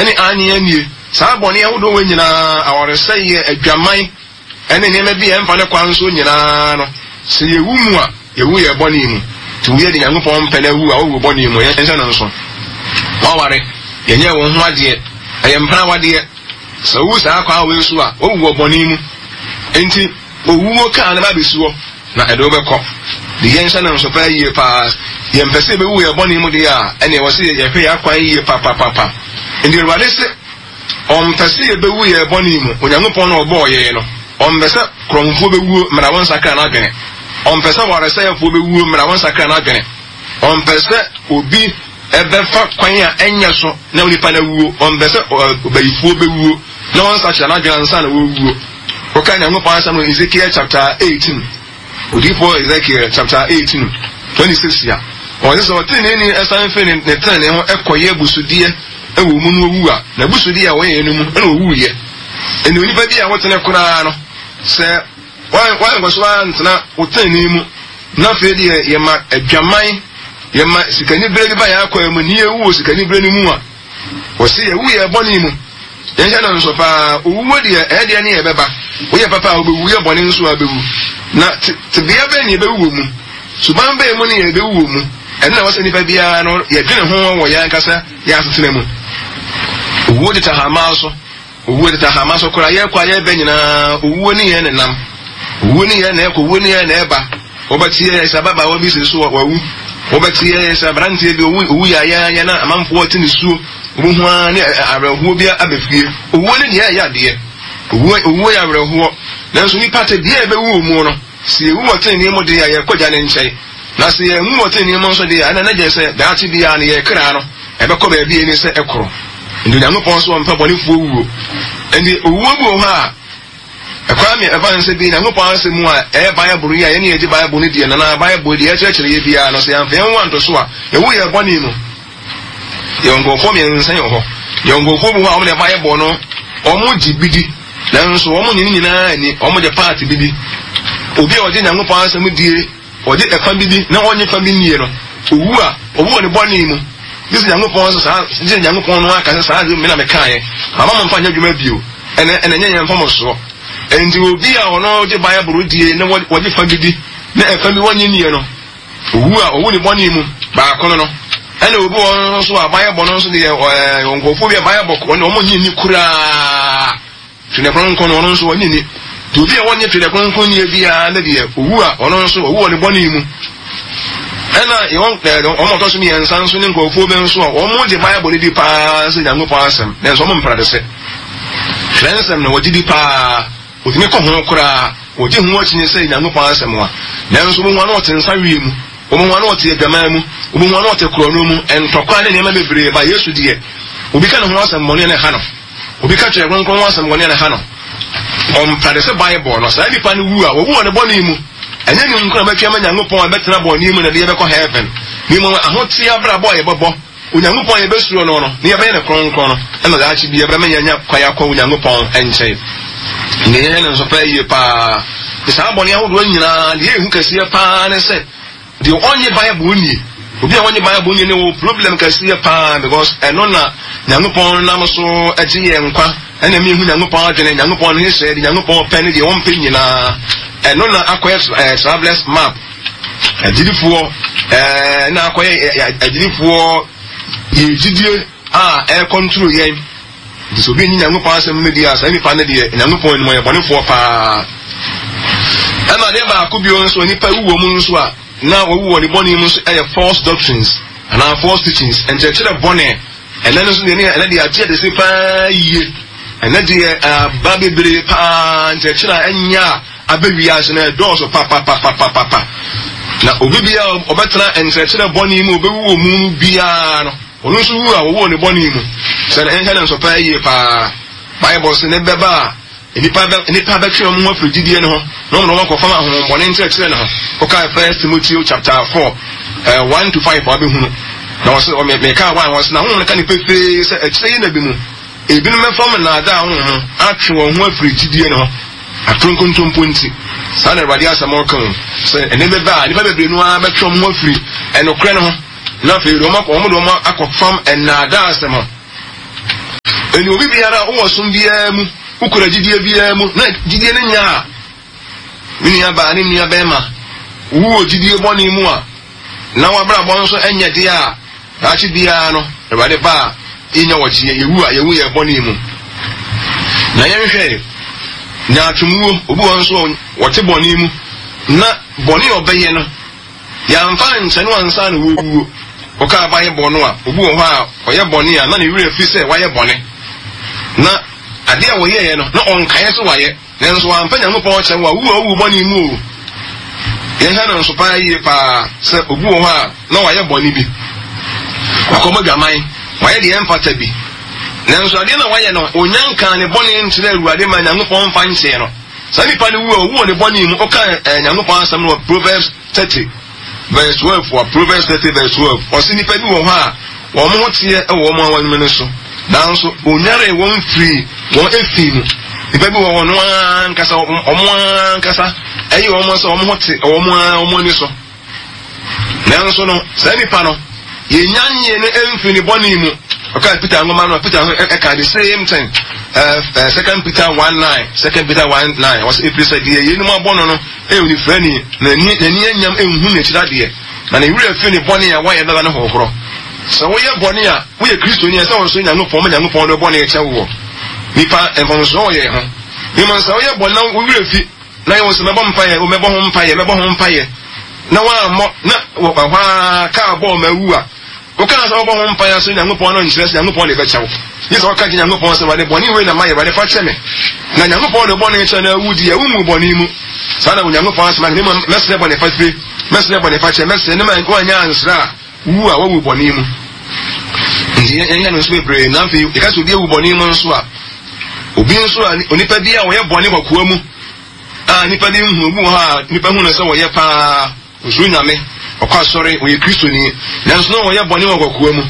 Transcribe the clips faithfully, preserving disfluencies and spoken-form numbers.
ne aane annie. Saa bɔne ahodoɔ wɔ nyinaa, awaresɛeɛ, adwaman, ɛne nneɛma bi a ɛmfa ne kwan so nyinaa no, sɛ yɛwu mu a, yɛwu yɛ bɔne mu. Nti woyɛ de Nyankopɔn mpɛ no awu a, wowu bɔne mu. Yɛnhyɛ no nso. Waware, yɛnyɛ wɔn ho adeɛ, ɛyɛ mpena awadeɛ. Sɛ wowu saa kwan wei so a, wowu wɔ bɔne mu. Nti owuo kaa no ba bɛsi hɔ na ɛde wobɛkɔ. De yɛnhyɛ no nso paa yie paa. Yɛmpɛ sɛ yɛbɛwu yɛ bɔne mu deɛ a, ɛne ɛwɔ sɛ yɛhwɛ yɛ akwan yie papapapa. Nti Awurade sɛ ɔmpɛ sɛ yɛbɛwu yɛ bɔne mu. Onyankopɔn na ɔbɔɔ yɛn no, ɔmpɛ sɛ korɔmfoɔ bɛwuo mmara wɔn nsakra n'adwene. Ɔmpɛ sɛ waresɛefoɔ bɛwuo mmara wɔn nsakra n'adwene. Ɔmpɛ sɛ obi ɛbɛfa kwan a ɛnyɛ so na onipa no awuo. Ɔmpɛ sɛ ɔbayifoɔ bɛwuo na wɔn nsakyera n'adwene ansa na wɔwuo. Wɔka Nyankopɔn asɛm no Ezekiel chapter eighteen, odiyifoɔ Ezekiel chapter eighteen twenty six a, ɔsɛ sɛ ɔteneneeni ɛsan firi ne ne tenenee ho ɛkɔyɛ abusudeɛ ɛwɔ mu no owu a, n'abusudeɛ a wɔyɛ no mu ɛna owuiɛ. Ɛnna onipa bi a wotene koraa no, sɛ wɔn so antena wo tenenee mu, na afei deɛ yɛma adwaman, yɛma sikanibere bi ba yɛn akwan mu, ne yɛwu wɔ sikanibere no mu a, wɔsi yɛwu yɛ bɔne mu. Yɛnhyɛ no nso paa, owuo deɛ ɛyɛ deɛ ne yɛbɛba. Woyɛ papa a wobɛwu, woyɛ bɔne nso a wobɛwu. Na tebea bɛn ne yɛbɛwu wɔ mu? Suban bɛn mu ne yɛbɛwu wɔ mu? Ɛno na wɔsɛ nipa biara no yɛdwene ho wɔ yɛn ankasa yɛn asetena mu. Owuo teta hama so, owuo teta hama so koraa, yɛkɔ a yɛbɛ nyinaa, owuo ne yɛn nenam. Owuo ne yɛn na ɛkɔ, owuo ne yɛn na ɛba. Wɔbɛte yɛ sɛ ababaawa bi si so wawu. Wɔbɛte yɛ sɛ aberanteɛ bi owu owu yɛ ayɛ na amanfoɔ te ne suo. Owu ara ne awerɛhoɔ bi aba fie. Owuo ne deɛ ɛyɛ adeɛ. Owuo owuo yɛ awerɛhoɔ. Nanso nipa te deɛ ɛbɛwu wɔ mu no, sɛ yɛwu wɔ tenenee mu deɛ a, yɛkɔ gya ne nkyɛn. Na sɛ yɛnwu wɔ tenenee mu nso deɛ a, ɛna na gye sɛ daakye biara no yɛ kra no ɛbɛkɔ baabi a ɛni sɛ ɛkorɔ. Nti Onyankopɔn nso ɔmpɛ bɔnefoɔ wuo. Nti owuo bi wɔ hɔ a, ɛkwan mi ɛfa nsɛ bi Nyankopɔn asɛm mu a ɛyɛ Bible yi a yɛne yɛgye Bible no deɛ, nana Bible deɛ ɛkyerɛkyerɛ yɛ biara no, sɛ yɛamfa yɛn ho anto so a, yɛwu yɛ bɔne mu. Yɛwɔ nkurɔfoɔ mmiɛnsa yɛ hɔ. Yɛwɔ nkurɔfoɔ bi hɔ a wɔn de Bible no, wɔn gye bi di, nanso wɔn nye ne nyinaa ani, wɔn gye paati bi di. Obi a ɔgye Nyankopɔn asɛm die, ɔgye ɛfa bi di na ɔnye fa bi nie no, owu a, owu wɔ ne bɔne mu. Gye sɛ Nyankopɔn sɛ saa, gye sɛ Nyankopɔn no aka sɛ saa de me na mekaeɛ, mama mo mfa nyɛ adwuma bio, ɛnɛ ɛnɛ nyɛ yɛn mfomsoɔ. Enti obi a ɔno gye Bible die na wɔgye fa bi di na ɛfa bi wɔnye nie no, owu a owu ne bɔne mu baako no no. Ɛna obi wɔ nso a Bible no nso deɛ ɛɛ nkurɔfoɔ bi a Bible wɔn wɔn nye ni koraa. Twerɛ Kronkron no ɔno nso wɔnye ni. Nti obi a wɔnye Twerɛ Kronkron nie biara ne deɛ owu a ɔno nso owu wɔ ne bɔne mu. Ɛna wɔn ɛɛ wɔn ɔtɔ so mmiɛnsa nso ne nkurɔfoɔ bi nso a wɔn gye Bible di paa sɛ Nyankopɔn asɛm, nanso wɔn mpra de sɛ twerɛ nsɛm no wɔgye di paa, wɔtumi kɔ ho koraa, wɔgye ho akyinnye sɛ Nyankopɔn asɛm a, nanso wɔn ho ano ɔte nsa wie mu, wɔn ho ano ɔte adwaman mu, wɔn ho ano ɔte korɔno mu, ntɔkwa ne nneɛma bebree ba. Yesu deɛ, obi ka ne ho asɛm bɔne ne ha no, obi ka Twerɛ Kronkron ho asɛm bɔne ne ha no, ɔmpra de sɛ Bible no. Saa nipa no wu a, wɔwu wɔ ne bɔne mu. Ɛnyɛ ne nkwa bɛtwe ama Nyankopɔn a bɛtena bɔne mu na de yɛbɛkɔ heaven. Ne mmom ahoteɛ abrabɔ a yɛbɛbɔ, Onyankopɔn a yɛbɛsuro no no, ne yɛbɛyɛ no kronkron no, ɛna daakye bi yɛbɛma yɛanya kwan akɔ Onyankopɔn nkyɛn. Ne yɛyɛ no nso paa yie paa. Saa bɔne ahodoɔ nyinaa, deɛ ɛhu kɛseɛ paa ne sɛ, deɛ ɔnye Bible nie, obi a ɔnye Bible nie ne wɔ problem kɛseɛ paa, because ɛno na Nyankopɔn nam so agye yɛn nkwa, ɛna mi hu Nyankopɔn adwene, Nyankopɔn ne hyɛ, de Nyankopɔn pɛ ne deɛ wɔmpɛ nyinaa. Ɛno na akɔyɛ ɛɛ travelers map. Agyidifoɔ ɛɛ na akɔyɛ agyidifoɔ yɛ gyidie a ɛrekɔntoro yɛn. Nti sɛ obi nyi Nyankopɔn asɛm no di a, saa nipa no deɛ Nyankopɔn anim ɔyɛ bɔnefoɔ paa. Ɛna adeɛ baako bio nso, nipa wu wɔ mu nso a na wɔwu wɔ ne bɔne mu nso ɛyɛ false doctrines anaa false teachings, nkyerɛkyerɛ bɔne. Ɛnɛ no nso deɛ, ɛnɛ deɛ agye ade se paa yie. Ɛnɛ deɛ aba bebree paa, nkyerɛkyerɛ a ɛnyɛ a abɛ wiase no ɛdɔɔso papapapapapa. Na obi biara ɔbɛtena nkyerɛkyerɛ bɔne mu, ɔbɛwu wɔ mu no biara no, ɔno nso wu a wɔwu wɔ ne bɔne mu. Sɛ ɛnhwɛ no nso paa yie paa. Bible sɛ ne bɛba a, nipa bɛ nipa bɛtwe wɔn ho afiri gyidie no ho na wɔn na wɔn akɔfam ahohommɔne nkyerɛkyerɛ no ho. Ɔkaa First Timothy chapter four ɛɛ one to five wabɛhunu. Na wɔsɛ ɔmɛ mɛka one, wɔsɛ na honhom no ka ne pefee sɛ akyire yi na bi mu ebinom bɛfam nnaadaa honhom atwe wɔn ho afiri gyidie no ho atoro nkontompo nti. Saa na Awurade asɛm ɔka o, sɛ ɛnɛ bɛba a, nipa bebree no ara bɛtwe wɔn ho afiri ɛnokorɛ no ho, na afei de wɔn akɔ wɔn de wɔn akɔfam nnaadaa asɛm ho. Ɛni obi biara a wowɔ som biara mu, wokura gyidie biara mu, na gyidie no nya a, me nua baa ne nua bɛrima, wowɔ gyidie bɔne mu a, na w'abrabɔ nso nyɛ deɛ a, daakye biara no, Awurade ba a, yɛnya wɔgyeɛ, yɛwu a, yɛwu yɛ bɔne mu. Na yɛnhwɛ nyaatwomwuo, obi wɔ nso a wɔte bɔne mu, na bɔne a ɔbɛyɛ no, yɛamfa nkyɛ no ansa na wɔwuo. Wɔka aban bɔ no a, obi wɔ hɔ a ɔyɛ bɔne a, na ne werɛ fi sɛ wayɛ bɔne. Na adeɛ a wɔyɛeɛ no, na ɔnkaeɛ sɛ wayɛ. Nanso wamfa Nyankopɔn kyɛ wo a, wu a wowu bɔne mu o. Yɛhwɛ no nso paa yie paa sɛ obi wɔ hɔ a na wayɛ bɔne bi. Wakɔbɔ dwaman, wayɛ deɛ ɛmfata bi. Nanso adeɛ na wayɛ no, onya nkaa ne bɔne nkyerɛ Awurade ma Nyankopɔn mfa nkyɛɛ no. Saa nipa no wu a, owu wɔ ne bɔne mu. Woka eh, Nyankopɔn asɛm no wɔ Proverbs thirty verse twelve wɔ Proverbs thirty verse twelve. Ɔse nipa bi wɔ hɔ a wɔn ho teɛ wɔ wɔn awanwuma no so, nanso onyaree wɔn firi wɔn efi mu. Nipa bi wɔ hɔ no ankasa, wɔn ankasa ɛyɛ wɔn sɛ wɔn ho te wɔn ara wɔn ani so. Nanso no, saa nipa no, yɛnya nyie no mfiri ne bɔne mu. Ɔkaa Peter nwoma no, Peter nso ɛka the same thing. Uh, uh, Second Peter one nine, Second Peter one nine. Wɔsɛ efiri sɛ deɛ yɛnum abɔ no no ɛyɛ onifirani, na n'ani n'ani anyam nhu n'akyiri adeɛ, na ne werɛ fi ne bɔne a wayɛ dada no hohorɔ. Sɛ woyɛ bɔne a, woyɛ Kristoni a, sɛ wɔn nso Nyankopɔn ma Nyankopɔn de bɔne kyɛ woɔ. Nipa mfomsoɔ wɔ yɛn ho. Mmom sɛ woyɛ bɔne na wo werɛ fi, na yɛ wɔ sɛ mɛbɔ mpaeɛ, o mɛbɔ ho mpaeɛ, mɛbɔ ho mpaeɛ, na woammɔ, na wɔ hɔ ara kaa bɔɔ ma awu a, wokaa sɛ wobɔ ho mpaeɛ sɛ Nyankopɔn no nkyerɛ sɛ Nyankopɔn de bɛkyɛ wo. Gye sɛ woka kyerɛ Nyankopɔn sɛ, Awurade, bɔne wei na mayɛ, Awurade fa kyɛ me. Na Nyankopɔn de bɔne kyɛ na awu deɛ, wommu bɔne mu. Saa na Onyankopɔn asɛm aka, na mmom mɛsrɛ bɔne fafire, mɛsrɛ bɔne fakyɛ, mɛsrɛ, ne ma woanyɛ ansrɛ a, wu a wawu bɔne mu. Nti yɛnyɛ no nso bebree. Na afei yɛka sɛ obi awu bɔne mu nso a, obi nso a onipa bi a wɔyɛ bɔne kɔkoa mu a nipa bi nhu, obi wɔ hɔ a nipa hu no sɛ wɔyɛ paa, osuro Nyame, ɔkɔ asɔre, ɔyɛ Kristoni, nanso na wɔyɛ bɔne wɔ kɔkoa mu.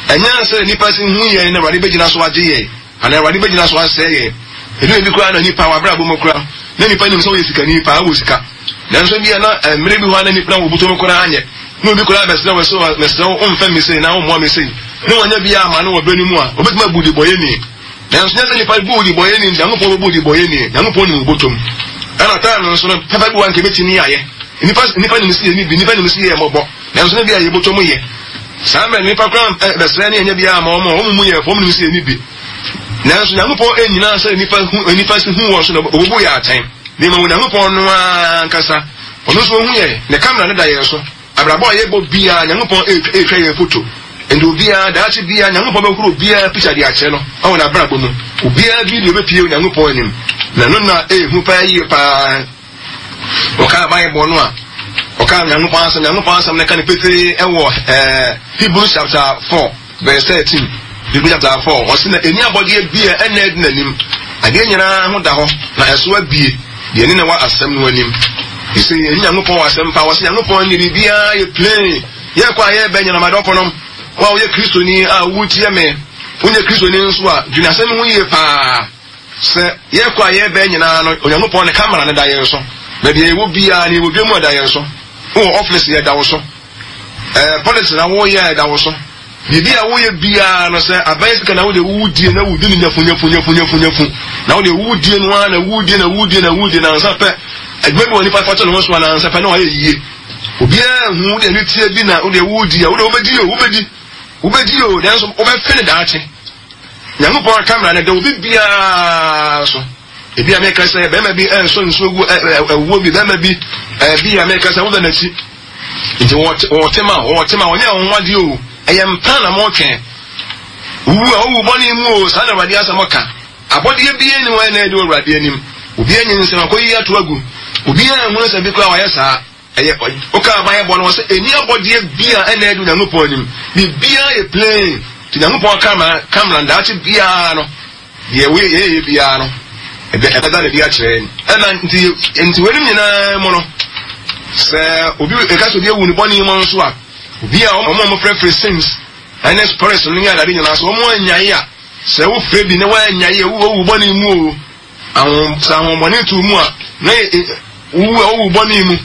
Ɛnyɛ sɛ nipa si hu yɛn na Awurade bɛgyina so agye yɛn, anaa Awurade bɛgyina so asɛe yɛn. Ɛdu ebi koraa na nipa wɔ abrabɔ mu koraa, na nipa nim sɛ ɔyɛ sikani paa, wɔ sika. Nanso bia na mmerɛ bi hɔ a na nipa na wɔbuto no koraa anyɛ. Na obi koraa bɛsrɛ wɔ sɛ, mesrɛ wo, womfɛ me sei na wommoa me sei. Na wanya bi ama no wɔ berɛ no mu a, obɛtumi abu debɔyɛni. Nanso nyɛ sɛ nipa bu debɔyɛni nti Nyankopɔn bɛbu debɔyɛni. Nyankopɔn nim wo bɔtɔm. Ɛna time no nso no, papa bi wɔ anka ebɛtumi ayɛ. Nipa nipa nim sɛ yɛ ni bi, nipa nim sɛ yɛ mmɔbɔ. Nanso ne bi a yɛ bɔtɔm yɛ. Saa mmerɛ nipa koraa bɛsrɛ ne ɛnyɛ bi ama wɔn a wɔn mu yɛ fam nim sɛ yɛ ni bi. Nanso Nyankopɔn ɛnyina sɛ nipa hu nipa si hu wɔn so na obubu yɛ atɛn. Ne ma Onyankopɔn no ankasa, ɔno nso ohu yɛ, ne kamera no da yɛn so. Abrabɔ a yɛbɔ biara, Nyankopɔn ɛretwa yɛn foto. Nti obiara, daakye biara, Nyankopɔn bɛhoro obiara picture de akyerɛ no ɛwɔ n'abrabɔ mu. Obiara video bɛpie Onyankopɔn anim. Na no na ɛɛhu paa yie paa. Ɔkaa Bible no a, ɔkaa Nyankopɔn asɛm, Nyankopɔn asɛm no ka no pefee ɛwɔ ɛɛ Hebrews chapter four verse thirteen. Hebrews chapter four, ɔsi na eni abɔdeɛ bi a ɛna ɛdi n'anim. Adeɛ nyinaa ho da hɔ, na ɛso abie, deɛ ne na wɔ asɛm no anim. Ɛsɛ yɛn Nyankopɔn wɔ asɛm pa, wɔsɛ Nyankopɔn ne biribiara yɛ plain. Yɛkɔ a yɛbɛ nyinam adɔfo wo a woyɛ Kristoni a wotie me, wonyɛ Kristoni nso a, dwene asɛm ho yie paa. Sɛ yɛkɔ a yɛbɛ nyinaa no, Onyankopɔn ne kamera no da yɛn so. Baabi a yɛwɔ biara ne yɛwɔ dwa mu a da yɛn so. Wowɔ office yɛda wo so. Ɛɛ politics na woyɛ ɛda wo so. Biribi a woyɛ biara no sɛ aban sika na wode wodie na wodi no nyafu nyafu nyafu nyafu nyafu. Na wode wodie no ara na wodie na wodie na wodie na nsa pɛ. Adwuma bi wɔ nipa fa to ne ho so na nsa pɛ na wayɛ yie. Obiara hu wode ani tie bi na wode wodi a wode wobɛdi o wobɛdi. Wobɛdi o nanso wobɛfe ne daakye. Nyankopɔn kamera no da obi biara so. Ebi a meka sɛ bɛrima bi ɛnsɔ nsuo gu ɛwuo bi bɛrima bi ɛbi a meka sɛ wobɛ n'akyi. Nti wɔte ma wɔte ma wɔnyɛ wɔn ho adeɛ o. Ɛyɛ mpa na mɔtwɛn. Wu a owu bɔne mu o, saa na Awurade asɛm ka. Abɔdeɛ bi ni wɔn na ɛdi Awurade anim. Obi anyi nsɛm akɔyi ato agu. Obi anhunu sɛ bi koraa wɔyɛ saa. Ɛyɛ woka aban bɔ no wɔ sɛ ɛni abɔdeɛ bi a ɛna ɛdi Onyankopɔn anim. Biribiara yɛ plain. Nti Onyankopɔn kamera kamera daakye biara no, deɛ wɔyɛ yɛyɛ biara no, ɛbɛ ɛbɛda ne bi akyerɛ yɛn. Ɛna nti nti wɔn nyinaa mu no, sɛ obi ɛka sɛ obi awu ne bɔne mu nso a, obi a wɔn a wɔfrɛfrɛ sins ɛne spirits no ne adade nyinaa so wɔn anyae a, sɛ wofrɛ bi na wɔanyae a wowu bɔne mu o. Ahom sɛ ahombɔne tu mu a, na wu a wowu bɔne mu.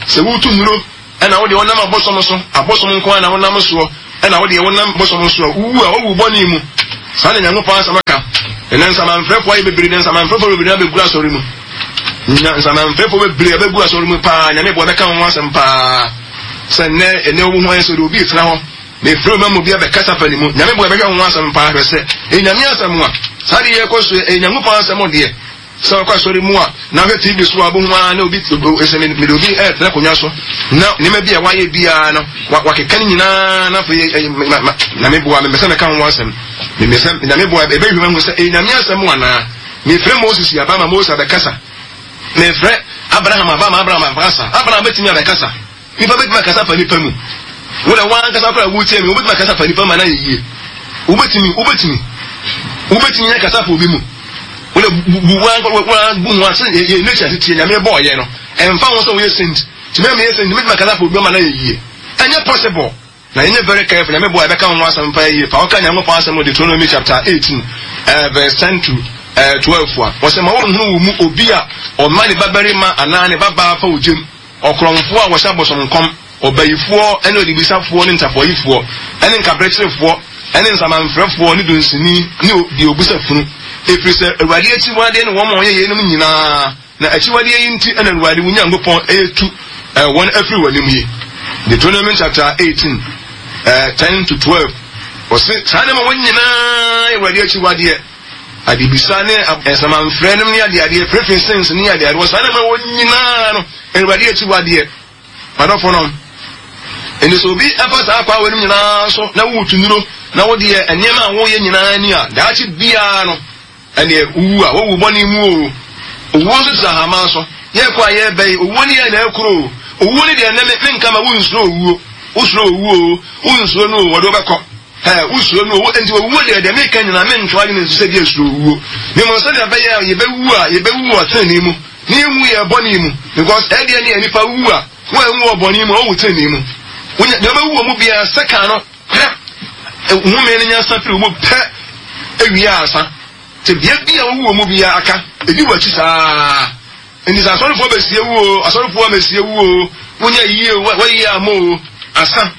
Sɛ wotu nnuro ɛna wode wɔnam abosom so, abosom nko ara na wonam soɔ, ɛna wode wonam bosom so a, wowu a wowu bɔne mu. Saa na Nyankopɔn asɛm aka. Ɛnɛ nsamanfrɛfoɔ ayɛ bebree, nsamanfrɛfoɔ bebree abɛgu asɔre mu. Nsamanfrɛfoɔ bebree abɛgu asɔre mu paa. Nyame boa, bɛka ho asɛm paa. Sɛ nnɛ ɛnɛ wo ho ayɛ sɛ obi tena hɔ na efiri ma mu bi abɛkasa fa ne mu. Nyame boa, bɛhwɛ ho asɛm paa, hwɛ sɛ ɛnyame asɛm a saa de yɛ kɔ so, ɛnyankopɔn asɛm deɛ. Sɛ ɔkɔ asɔre mu a, na ahwɛ T V so a, bohu ara na obi sɛ mede obi ɛretena akonnwa so na nneɛma bi a wayɛ biara no wakeka ne nyinaa, na afei Nyame boa, mepɛ sɛ mɛka ho asɛm. Mepɛ sɛ Nyame boa, ɛbɛhwɛ mahu sɛ ɛyɛ Nyame asɛm anaa. Mefrɛ Moses aba ma Moses abɛkasa. Mefrɛ Abraham aba ma Abraham abɛkasa. Abraham bɛtumi abɛkasa. Nipa bɛtumi akasa fa nipa mu. Wo na wankasa koraa wotie me, wobɛtumi akasa fa nipa mu anaa yɛ yie. Wobɛtumi, wobɛtumi. Wobɛtumi akasa fa obi mu. Wona bu bu ho ase yɛ nature tete Nyame bɔɔ yɛ no. Ɛmfa ho sɛ woyɛ saint. Tumi a meyɛ saint, mɛtumi akasa fa obi mu anaa yɛ yie. Ɛnyɛ possible. Na yɛnyɛ very careful. Nyame boa, yɛbɛka ho asɛm pa yie. Pa ɔka Nyankopɔn asɛm wɔ Deuteronomy chapter eighteen, uh, verse ten to uh, twelve a. Wɔsɛ ma wɔnhunu wo mu obi a ɔma ne babarima anaa ne babaa fa ogyem, ɔkorɔmfoɔ a wɔhyɛ abosomnkɔm, ɔbayifoɔ ne odibisafoɔ ne ntafoayifoɔ ne nkaberɛkyerefoɔ ne nsamanfrɛfoɔ ne dunsini ne deɛ obusa funu. Ɛfiri sɛ Awurade akyiwadeɛ ne wɔn a wɔyɛ yeinom nyinaa, na akyiwadeɛ yi nti na Awurade wo Nyankopɔn ɛretu wɔn afiri w'anim yi. Deuteronomy chapter eighteen, ten to twelve. Wɔse saa nneɛma wɔn nyinaa Awurade akyiwadeɛ. Adebisa ne nsamanfrɛ nom ne adeadeɛ, firifiri sins ne adeadeɛ, wɔ saa nneɛma wɔn nyinaa no Awurade akyiwadeɛ. Madɔfo no, ɛnti sɛ obi ɛfa saa akwa wɔn nyinaa so na wotu nnuro na wodeɛ nneɛma a woyɛ nyinaa ni a, daakye biara no ɛneɛ wowu a wowu bɔne mu o. Owuo nso te ahama so. Yɛkɔ a yɛbɛ yi, owuo ne yɛ na ɛkoro o. Owuo ne deɛ ɛnɛ me menka ma wonsuro owuo. Wosuro owuo o, wonsuro no o, wɔde wobɛkɔ. Ɛ wosuro no o, enti owuo deɛ deɛ meka nyinaa mentwa adwene nso sɛ deɛ suro owuo. Ne mmom sɛdeɛ ɛbɛyɛ a yɛbɛwu a yɛbɛwu wɔ tenenee mu na yɛnwu yɛ bɔne mu, because ɛdeɛ ne yɛ nipa wu a wɔanwu wɔ bɔne mu a wɔwu tenenee mu. Wonya deɛ wobɛwu wɔ mu biara sɛka no pɛ, home no nya sa firi wo mu pɛ ewie ansa. Sɛ bea bi a wowu wɔ mu biara aka ebi wɔ akyi saa. Nti sɛ asɔrefoɔ bɛsie wu o, asɔrefoɔ amɛsie wu o, wonya yie o, wɔyie ama o, asa.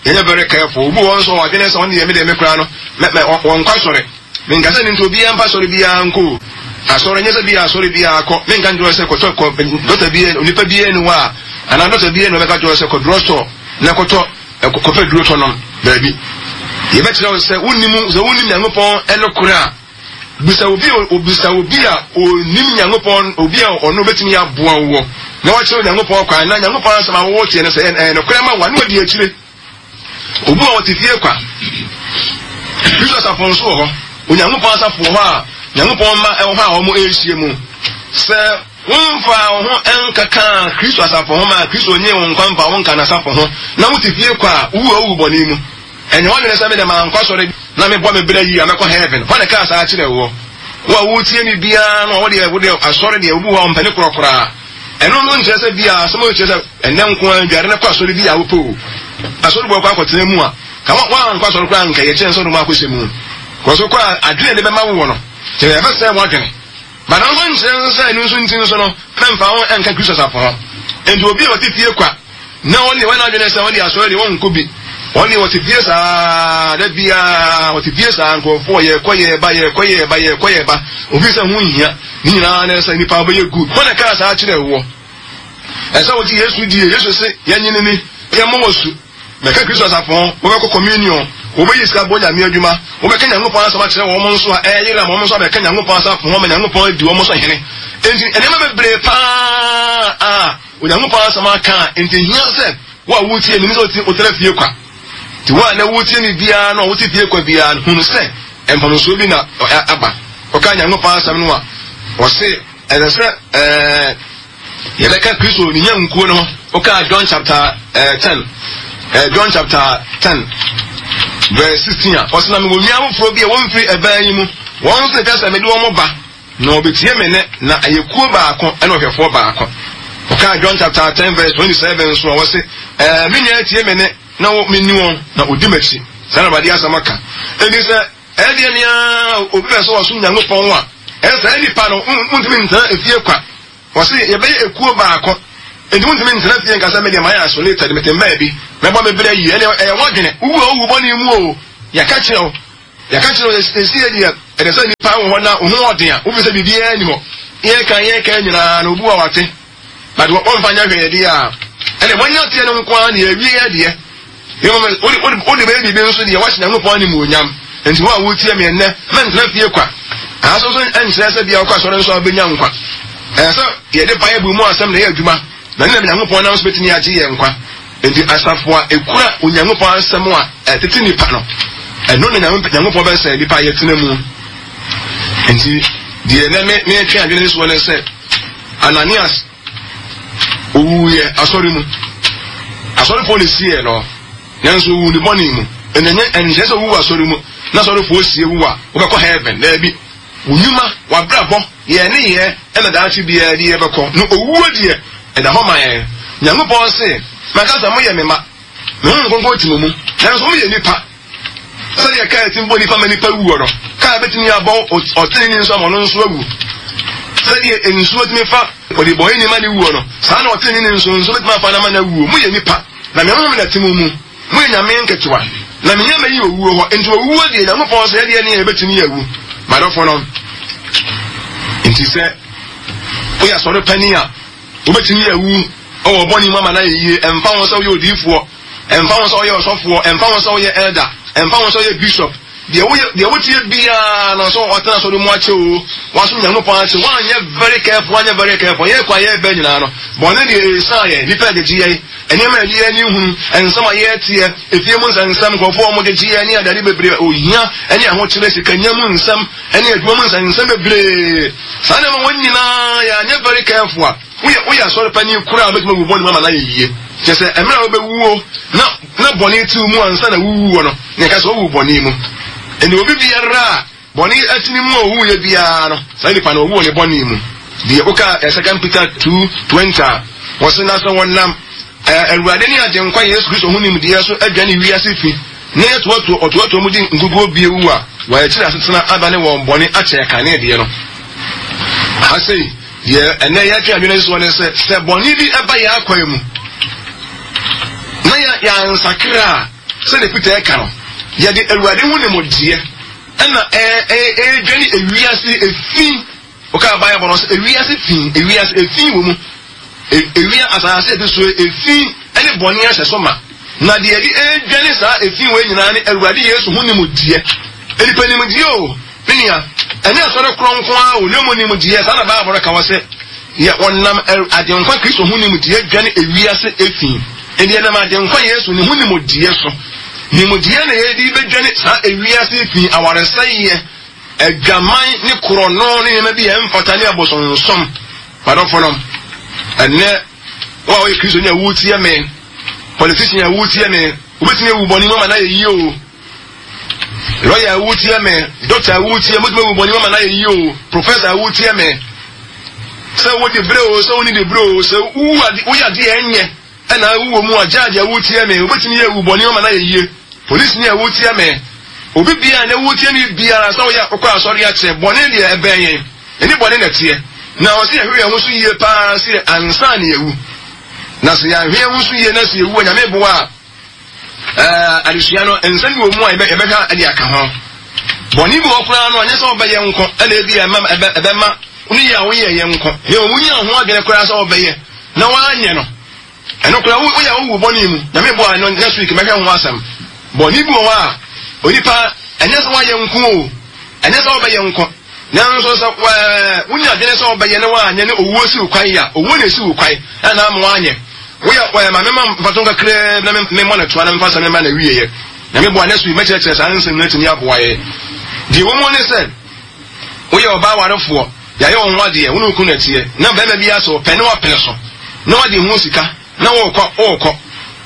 Yɛnyɛ very careful. Obi wɔ nso ɔadwene sɛ ɔno deɛ me deɛ me koraa no, mɛ mɛ wɔnkɔ asɔre. Menka sɛ ne nti obiara mpa asɔre biara nkɔ o. Asɔre nyɛ sɛ bi asɔre biara kɔ. Menka nkyerɛ sɛ kɔtɔ kɔ dɔkta bi onipa biara ni hɔ a, anaa dɔkta biara ni ɔbɛka kyerɛ sɛ kɔ drugstore na kɔtɔ kɔpɛ duro tɔ nom. Baabi. Yɛbɛkyerɛ wo sɛ wonnim sɛ wonnim Nyankopɔn ɛnokorɛ a, bisa obi obisa obi a onim Nyankopɔn, obi a ɔno betumi aboa wo na wakyerɛ Nyankopɔn kwan, na Nyankopɔn asɛm a wɔwɔ tie no sɛ ɛyɛ nokorɛ ma wo a, na wadi akyire. Obi a ɔte fie kwa, Kristo asafo nso wɔ hɔ, Onyankopɔn asafo wɔ hɔ a Nyankopɔn mma ɛwɔ hɔ a wɔn ɛrehyia mu. Sɛ womfa wo ho nkeka Kristo asafo ho ma Kristo nye wo nkwa mfa wo nka n'asafo ho na wote fie kwa a, wowu a wowu bɔne mu. Ɛnyɛ w'adwene sɛ me deɛ mankɔ asɔre na mebɔ me bra yie a mɛkɔ heaven. Hɔ na ɛkaa saa kyerɛ woɔ. Wo a wotie me biara no a, wo deɛ wo deɛ asɔre deɛ obi wɔ hɔ a ɔmpɛ ne korɔ koraa. Ɛno no nkyerɛ sɛ bia asɛm a kyerɛ sɛ ɛnɛ nko ara dware no kɔ asɔre bi a wopɛ o. Asɔre bɔ kɔ akɔtena mu a, ka woankɔ asɔre koraa nka yɛkyerɛ sɛ wode akɔhyɛ mu. Kɔ so kɔ a adwene de bɛma wo wɔ no, kyerɛ ɛbɛsɛe w'adwene. But nso nkyerɛ nso sɛ ɛno nso nti nso no mɛmfa ho ɛnka Kristo asafo ho. Enti obi a ɔte fie kwa na ɔne wɔn adwene sɛ ɔde asɔre deɛ ɔnkɔ bi, ɔne ɔte fie saa da biara ɔte fie saa, nkurɔfoɔ yɛkɔ yɛba yɛkɔ yɛba yɛkɔ yɛba, obi sɛ ho nhia ne nyinaa ne sɛ nipa bɛyɛ good. Wɔn na kaa saa kyerɛ woɔ. Ɛsɛ wɔgye Yesu die. Yesu se yɛnyini ni, yɛmmɔ wɔ su, mɛka Kristo asafo ho, wɔbɛkɔ communion, wɔbɛyi sika bɔ Nyame adwuma, wɔbɛka Nyankopɔn asɛm akyerɛ wɔn nso a ɛyera ma wɔn nso abɛka Nyankopɔn asafo ho ma Nyankopɔn adi wɔn so hene. Enti nneɛma bebree paa a Onyankopɔn asɛm aka a, enti hia sɛ wo a wotie me ne sɛ wotena fie kwa. Nti wo a na wotie me biara no a wote fie kwa biara no, hunu sɛ mfomsoɔ bi na aba. Wɔka Nyankopɔn asɛm no a, wɔse ɛsɛ sɛ ɛɛ yɛbɛka Kristo ne nyankuo no ho. Woka John chapter uh, ten, uh, John chapter ten verse sixteen a, ɔsɛ na mewɔ nua foforɔ bi a wɔmfiri ɛbɛn yi mu, wɔn nso ɛka sɛ mede wɔn ba na wɔbɛtie me nne, na ɛyɛ kuo baako ɛna ɔhwɛfoɔ baako. Woka John chapter ten verse twenty seven nso a, wɔse ɛɛ me nua tie me nne na menni wɔn na ɔdi m'akyi. Saa na Awurade asɛm aka. Enti sɛ ɛdeɛ nea obi bɛ sɛ ɔsom Nyankopɔn a, ɛsɛ saa nipa no wontumi ntena efie kwa. Wɔse yɛbɛyɛ ekuo baako. Enti wontumi ntena fie nka sɛ me deɛ mayɛ isolated, mete mbaa bi, mɛbɔ me bra yie. Ɛnna ɛyɛ w'adwene. Wowu a wowu bɔne mu o. Yɛka kyerɛ wo. Yɛka kyerɛ wo esi yɛ deɛ Ɛde sɛ nipa wɔ hɔ na wo ho ɔden a, wofi sɛ biribiara ni hɔ. Yɛka yɛka nyinaa na obu a wate. But wɔmfa nyɛ hwee deɛ a, ɛnna wɔnyɛ teɛ no nko ara na yɛawie adeɛ. Wode bɛyɛ biribi nso deɛ wahyɛ Nyankopɔn animuonyam. Nti wo a wotie me nnɛ, mɛntena fie kwa. Aso nso nkyerɛ sɛ bia wokɔ asɔre nso a wobɛnya nkwa. Ɛyɛ sɛ yɛde Bible mu asɛm na ɛyɛ adwuma, na ne nam Nyankopɔn nam so bɛtumi agye yɛn nkwa. Nti asafo a ɛkura Onyankopɔn asɛm a ɛtete nipa no, ɛno na Nyankopɔn bɛsɛ nipa yɛtena mu. Nti deɛ nɛ metwe adwene soɔ ne sɛ Ananias owuiɛ asɔre mu. Asɔrefoɔ ne siee no, nanso owu ne bɔne mu. Ɛnɛ ɛnkyerɛ sɛ owu asɔre mu na asɔrefoɔ sie wu a wobɛkɔ heaven. Daabi, wo nnwuma, w'abrabɔ, yɛn ne yɛ ɛna daakye biara de yɛbɛkɔ. No owuo deɛ ɛda hɔ ma yɛn. Nyankopɔn se, maka sɛ moyɛ me ma, me ho nkonko te mo mu, nanso moyɛ nipa. Sɛdeɛ kaa ti bɔ nipa ma nipa wuo no, kaa bɛtumi abɔ ɔteneni nso ama ɔno nso awu. Sɛdeɛ nsuo tumi fa ɔdebɔneyɛni ma ne wuo no, saa na ɔteneni nso nso bɛtumi afa no ama no awuo. Moyɛ nipa, na me honhom na te mo mu. Moyɛ nyame nketewa, na me nyame yi owuo hɔ. Nti owuo deɛ, Nyankopɔn sɛ yɛdeɛ ne yɛbɛtumi awu. Madɔfo no, nti sɛ woyɛ asɔre panin a, wobɛtumi awu ɔwɔ bɔne mu ama no ayɛ yie. Ɛmfa ho sɛ woyɛ odiyifoɔ, ɛmfa ho sɛ woyɛ ɔsɔfoɔ, ɛmfa ho sɛ woyɛ elder, ɛmfa ho sɛ woyɛ bishop. Deɛ woyɛ, deɛ wotie biara no sɛ ɔtena asɔre mu akyɛ o, wasom Nyankopɔn akyɛ, woanyɛ very careful, woanyɛ very careful, yɛ kɔ a yɛbɛ nyinaa no, bɔne deɛ ɛsan yɛn, nipa agyegye yɛn, nneɛma a yɛde yɛn ani hunu, nsɛm a yɛteɛ, efie mu nsɛnsɛm, nkurɔfoɔ a wɔgyegye yɛn ne adade bebree, ohia ne ahokyerɛ, sikanya mu nsɛm, ne adwuma mu nsɛnsɛm bebree. Saa nneɛma wɔn nyinaa yɛanyɛ very careful a, woyɛ woyɛ asɔre panyin koraa a wobɛtumi awu bɔne mu ama no ayɛ yie. Kyerɛ sɛ mmerɛ a wobɛwuo na na bɔne te wo mu ansa na wowuo no, na yɛka sɛ wowu bɔne mu. Ɛnna obi biara a bɔne atini mu a owuiɛ biara no, saa nipa no ɔwu wɔ ne bɔne mu. Deɛ woka Second Peter two twenty a, wɔse na sɛ wɔnam Awurade ne Agyenkwa Yesu Kristo ho nimdeɛ so adwane wiase fi na yɛtoatoa ɔtoatoa mu di nkukuo bie wu a, wɔakyiri asetena adane wɔn bɔne akyɛ kane deɛ no. Ha sei, deɛ ɛnɛ yɛtwe adwene soɔ ne sɛ, sɛ bɔne bi ɛba yɛn akwan mu na yɛansakra a, sɛdeɛ Peter ɛka no, yɛde Awurade ho nimdeɛ ɛna ɛɛdwane ewiase efi. Woka Bible no sɛ ewiase fi, ewiase efi wɔ mu. Ewia asase efi so efi ɛne bɔne ahyɛ so ma. Na deɛ yɛde ɛredwane saa efi wɔ nyinaa ne Awurade Yesu ho nimdeɛ. Nipa nimdeɛ o, me nua, ɛnyɛ asɔre kronkron a o, na mmom nimdeɛ. Saa na Bible no ka wɔ sɛ yɛ wɔnam Agyenkwa Kristo ho nimdeɛ dwane ewiase efi. Ɛnti yɛnam Agyenkwa Yesu ne ho nimdeɛ so. Nimdeɛ na yɛde bɛdwane saa ewiase efi, awaresɛeɛ, adwaman ne korɔno ne nneɛma bi a ɛmfata ne abosonsom. Madɔfo no, ɛnnɛ wo a woyɛ Kristoni a wotie me, politician a wotie me, wobɛtumi awu bɔne mu ama no ayɛ yie o. Lawyer a wotie me, doctor a wotie me, wobɛtumi awu bɔne mu ama no ayɛ yie o. Professor a wotie me, sɛ wode berɛ o, sɛ wonni de berɛ o, sɛ woyɛ adeɛ ɛnyɛ ɛna wowɔ mu a, judge a wotie me, wobɛtumi awu bɔne mu ama no ayɛ yie. Polisi ni a wotie me, obi biara na wotie me biara sɛ woyɛ wokɔ asɔre akyɛ, bɔne deɛ ɛbɛn yɛn, ɛne bɔne na ɛteɛ. Na ɔsɛ yɛhwɛ yɛn ho so yie paa sɛ ansa na yɛwu. Na sɛ yɛahwɛ yɛn ho so yie na sɛ yɛwu a, Nyame boa a, ɛɛ adesua no nsɛm bi wɔ mu a yɛbɛhwɛ ɛde aka ho. Bɔne bi wɔ koraa no, anyɛ sɛ wɔbɛyɛ nko ɛna ebi ɛma ɛbɛma ne yɛ a woyɛ yɛ nko. Na wɔn nyɛ ho adwene koraa sɛ wɔbɛyɛ na wɔanyɛ no. Ɛno koraa woyɛ a wowu bɔne mu. Nyame boa no next week mɛhwɛ ho asɛm. Bɔne bi wɔ hɔ a onipa ɛnyɛ sɛ woayɛ nko o, ɛnyɛ sɛ wobɛyɛ nko. Nanso sɛ wonya adwene sɛ wobɛyɛ na woanyɛ ne owuo si wo kwan a, owuo na esi wo kwan ɛna ama woanyɛ. Woyɛ wɔyɛ ma mema mfato kakraa na memmɔ no toa na memfa asɛm no ma na wieɛ. Nyame boa next week mɛkyerɛkyerɛ saa nsɛm no atumi aboa yɛ. Deɛ ɛwɔ mu ne sɛ woyɛ ɔbaa warefoɔ, yɛayɛ wo ho adeɛ, wo ne wo kunu na ɛteɛ, na bɛrima bi asɛ ɔpɛ ne wapene so na wade ho sika na wokɔ wokɔ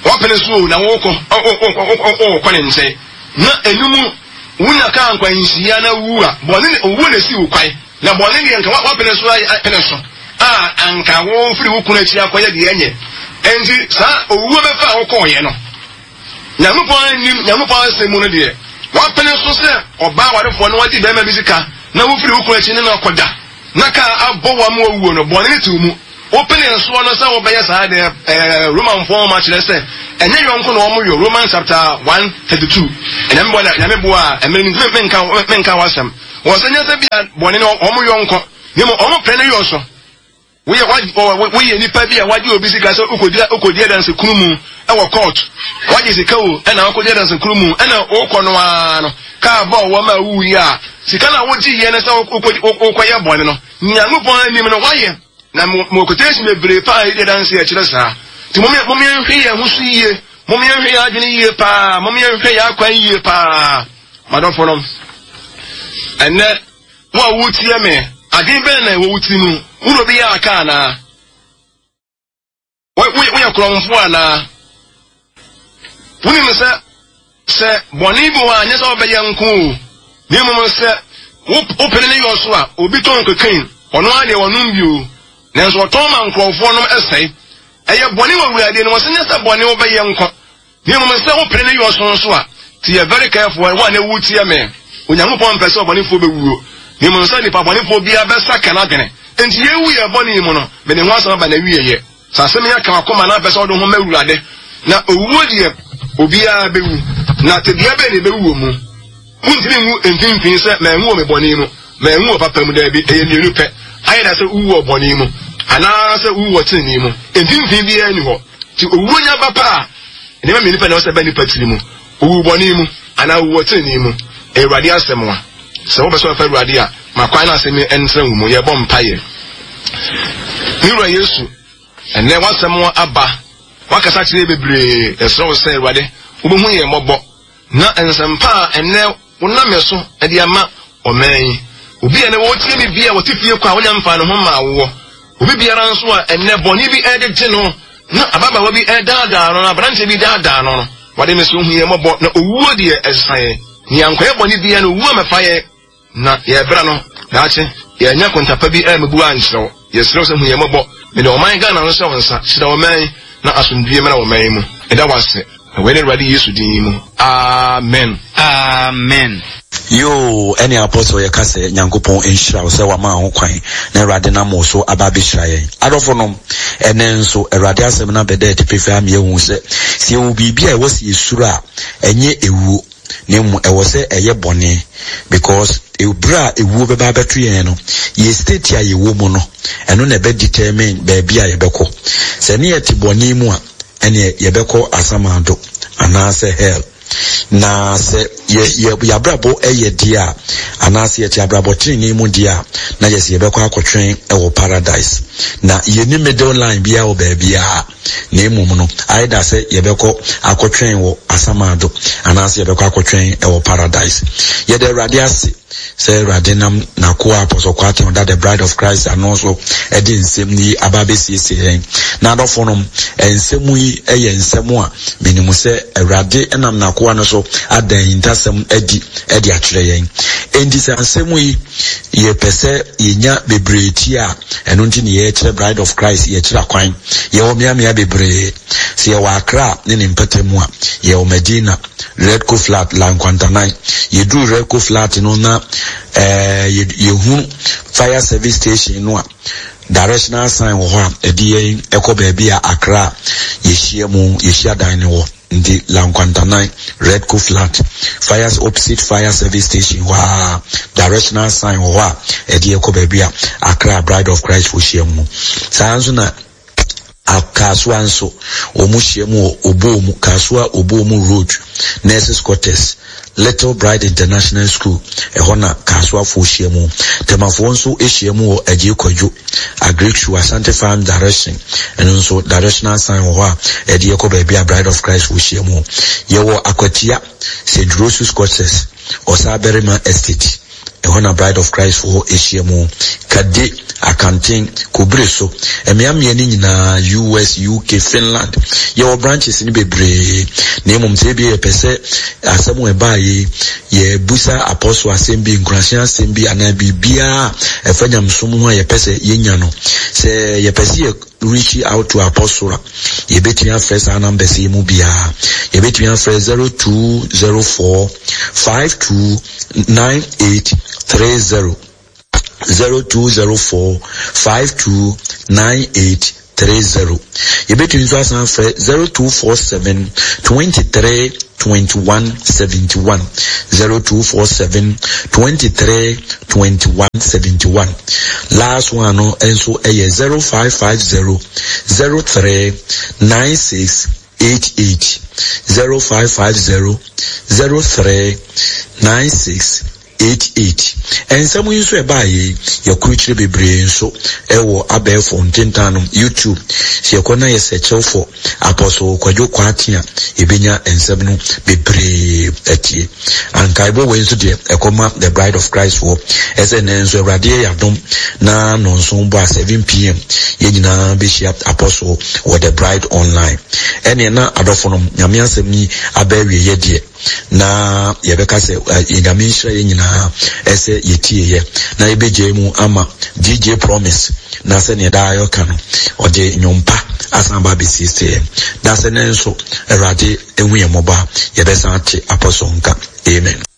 wapene so o na wokɔ wokɔ ne nkyɛn na ɛno wonya kaa nkwanhyia na wu a, bɔne ne owuo na esi wo kwan. Na bɔne deɛ nka wapene so apene so a anka wofiri wo kunu akyi akɔyɛ deɛ ɛnyɛ. Enti saa owuo bɛfa a wokɔɔyɛ no, Nyankopɔn anim, Nyankopɔn asɛm mu no deɛ, wapene so sɛ ɔbaa warefoɔ na wagye bɛrima bi sika na wofiri wo kunu akyi ne no akɔda na kaa abɔ wo ama wawuo no, bɔne ne te wo mu. Wopene soɔ no sɛ wobɛyɛ saa deɛ, ɛɛ Romanfoɔ nwoma kyerɛ sɛ ɛnyɛ yɔnko na wɔn yɔ, Romans chapter one thirty two. Nyame boa na Nyame boa a ɛmɛ ni menka menka w'asɛm. Wɔsɛ nyɛ sɛ bia bɔne no wɔn yɔ nko, na mmom wɔn pɛ no yɔ so. Woyɛ woyɛ nipa bi a wagye obi sika sɛ wokɔdi wokɔdi adanse kunu mu wɔ court. Wagye sika o, ɛna wokɔdi adanse kunu mu, ɛna wokɔ no ara no, kaa bɔɔ wɔ ma wuyi a, sika no a wogye yɛ no sɛ wokɔdi wokɔyɛ bɔne no, Nyankopɔn anim no wayɛ. Na mo quotation bebree paa yi de adanse ɛkyerɛ saa. Nti mom mom yɛnhwɛ yɛn ho so yie, mom yɛnhwɛ yɛn adwene yie paa, mom yɛnhwɛ yɛn akwan yie paa. Madɔfo nom, ɛnɛ wo a wotie me, adwene bɛn na ɛwɔ wo tiri mu? Wo na obi yɛ aka anaa? Woyɛ korɔmfo anaa? Wonim sɛ sɛ bɔne bi wɔ a nyɛ sɛ wobɛyɛ nko o, na mmom sɛ wopene ne yɔ so a, obi tɔn kokain, ɔno ara deɛ ɔnom bi o, nanso ɔtɔn ma nkurɔfoɔ nom sɛe. Ɛyɛ bɔne wɔ Awurade anim, ɔsɛ nyɛ sɛ bɔne wobɛyɛ nko, na mmom sɛ wopene ne yɔ so nso a, nti yɛ very careful, wo a na wotie me. Onyankopɔn mpɛ sɛ ɔbɔnefoɔ bɛwuo, na mmom sɛ nipa bɔnefoɔ biara bɛsakra n'adwene. Enti yɛwu yɛn bɔne yi mu no, mede ho asɛm aba n'awieeɛ. Sɛ asɛm yi aka w'akoma na wopɛ sɛ wode wo ho ma Awurade, na owuo deɛ, obiara bɛwu, na tebea bɛn na ɛbɛwu wɔ mu? Wontumi nwu mfimfini sɛ manwu wɔ me bɔne mu, manwu wɔ papa mu, daabi, ɛyɛ mmienu pɛ, ayɛ da sɛ wowu wɔ bɔne mu, anaasɛ wowu wɔ tenenee mu. Mfimfini biara nni hɔ. Nti owuo nya ba pɛ a, nneɛma mmienu pɛ na ɛwɔ sɛ ɛba nnipa tiri mu, owu bɔne mu anaa owu wɔ tenenee mu. Ɛyɛ Awurade asɛm a. Sɛ wopɛ sɛ wɔfa Awurade a, ma kwan na asɛm yi ntena wo mu. Yɛbɔ mpaeɛ. Me Wura Yesu, ɛnnɛ w'asɛm aba. Wakasa kyerɛ bebree. Yɛsrɛ wo sɛ, Awurade, wobɛhu yɛn mmɔbɔ. Na nsɛmpa a ɛnnɛ wonam yɛn so de ama ɔman yi. Obi a ɛnnɛ wɔretie me bi a wɔte fie kɔ a wonya mfaa ne ho mmaa woɔ. Obi biara nso a ɛnnɛ bɔne bi ɛregyegye no, na ababaawa bi ɛredaadaa no, na aberanteɛ bi daadaa no no, Awurade me so hu yɛn mmɔbɔ, na owuo deɛ ɛsesa yɛn. Nea nkɔyɛ bɔne biara no, owu ammɛfa yɛn, na yɛrebra no, daakye, yɛannya kontapa bi ammebu ankyerɛ wo. Yɛsrɛ wo sɛ hu yɛn mmɔbɔ. Mede ɔman Ghana no hyɛ wo nsa. Hyira ɔman yi, na asomdwoeɛ mmra ɔman yi mu. Meda wo ase. Na wei ne Awurade Yesu din mu. Amen. Amen. Yoo ɛne Apostle yɛka sɛ Nyankopɔn nhyira wo sɛ wama ho kwan na Awurade nam wo so aba abɛhyira yɛn. Adɔfo nom, ɛnɛ nso Awurade asɛm no abɛda adi pefee ama yɛahu sɛ sɛ yɛwɔ biribi a ɛwɔ sɛ yɛsuro a, ɛnyɛ ewuo na mmom ɛwɔ sɛ ɛyɛ bɔne because berɛ a ewuo bɛba abɛto yɛn no, yɛ state a yɛwɔ mu no, ɛno na ɛbɛ determine baabi a yɛbɛkɔ. Sɛ ne yɛte bɔne mu a, ɛneɛ yɛbɛkɔ asamando anaasɛ hell. Na sɛ yɛ yɛ yɛabrabɔ yɛ deɛ a, anaasɛ yɛte abrabɔ tenenee mu deɛ a, na yɛ sɛ yɛbɛkɔ akɔtwɛn wɔ paradise. Na yɛnni middle line biara wɔ baabiara, na mmom no, either sɛ yɛbɛkɔ akɔtwɛn wɔ asamado, anaasɛ yɛbɛkɔ akɔtwɛn wɔ paradise. Yɛda Awurade ase sɛ Awurade nam n'akoa Apostle Kwarteng ɔda The Bride of Christ ano so de nsɛm yi aba abɛsiesie yɛn. Na adɔfo nom, nsɛm yi yɛ nsɛm a menim sɛ Awurade nam n'akoa no so ada ahintasɛm adi de akyerɛ yɛn. Enti sɛ asɛm yi yɛpɛ sɛ yɛnya bebree tie a, ɛno nti ne yɛkyerɛ Bride of Christ, yɛkyerɛ akwan. Yɛwɔ mmeammea bebree. Sɛ yɛwɔ Accra ne ne mpɔtam a, yɛwɔ Medina, Redco Flat, La Nkwantanan. Yɛduru Redco Flat no na eh, yɛhunu fire service station no a, directional sign wɔ hɔ a ɛde yɛn ɛkɔ baabi a Accra yɛhyia mu, yɛhyia dan no wɔ. Nti La Nkwantanan, Redco Flat, fire, opposite fire service station hɔ a, directional sign wɔ hɔ a ɛde yɛkɔ baabi a Accra Bride of Christ fo hyia mu. Saa nso na Kasoa nso, wɔn hyia mu wɔ Obomu, Kasoa Obomu Road, Nurses Quarters, Little Bride International School, ɛhɔ na Kasoafoɔ hyia mu. Temafoɔ nso hyia mu wɔ Agyei Kwadwo, Agric Shoe, Asante Farm Direction, ɛno nso directional sign wɔ hɔ a ɛde yɛkɔ baabi a Bride of Christ foɔ hyia mu. Yɛwɔ Akwatia, Saint Rose's Quarters, Ɔsaabarima Estate. Ɛhɔ na Bride of Christ foɔ ahyia mu. Kade, Akanten, Kobere so, mmeammea no nyinaa, U S, U K, Finland. Yɛwɔ branches no bebree. Na mmom sɛ ebia yɛpɛ sɛ asɛm a ɛbaa yi, yɛbusa apostle asɛm bi, nkuranhyɛ asɛm bi, anaa biribiara a ɛfa nyamesom ho a yɛpɛ sɛ yɛnya no. Sɛ yɛpɛ sɛ yɛ reach out to apostle a, yɛbɛtumi afrɛ saa numbers yi mu biara. Yɛbɛtumi afrɛ zero two zero four five two nine eight three zero, zero two zero four five two nine eight three zero. Yɛbɛtumi nso asan afrɛ zero two four seven twenty three twenty one seventy one zero two four seven twenty three twenty one seventy one. Last one no nso ɛyɛ zero five five zero zero three nine six eight eight zero five five zero zero three nine six eight eight. Nsɛm yi nso ɛbaa yɛ yɛkurukyire bebree nso ɛwɔ abɛɛfo ntentan no YouTube. Sɛ yɛkɔ na yɛ search for Apostle Kwadwo Kwate a, yɛbɛnya nsɛm no bebree atie. Ankaebɔ wei nso deɛ ɛkɔma The Bride of Christ foɔ ɛsɛ nnɛ nso Awurade yɛ yɛadom na nɔnson bɔ a seven pm yɛn nyinaa bɛhyia Apostle wɔ The Bride Online. Ɛneɛ na adɔfo no Nyame asɛm yi aba awieɛ deɛ, na yɛbɛka sɛ Nyame nhyira yɛn nyinaa ɛsɛ yɛtieɛ na yɛbɛgyae mu ama D J Promise na sɛneɛ daa yɛka no ɔde nnwompa asan ba abɛsiesie yɛn. Da sɛ nnɛ nso Awurade ehu yɛn mmɔbɔ a yɛbɛsan ate Apostle nka. Amen.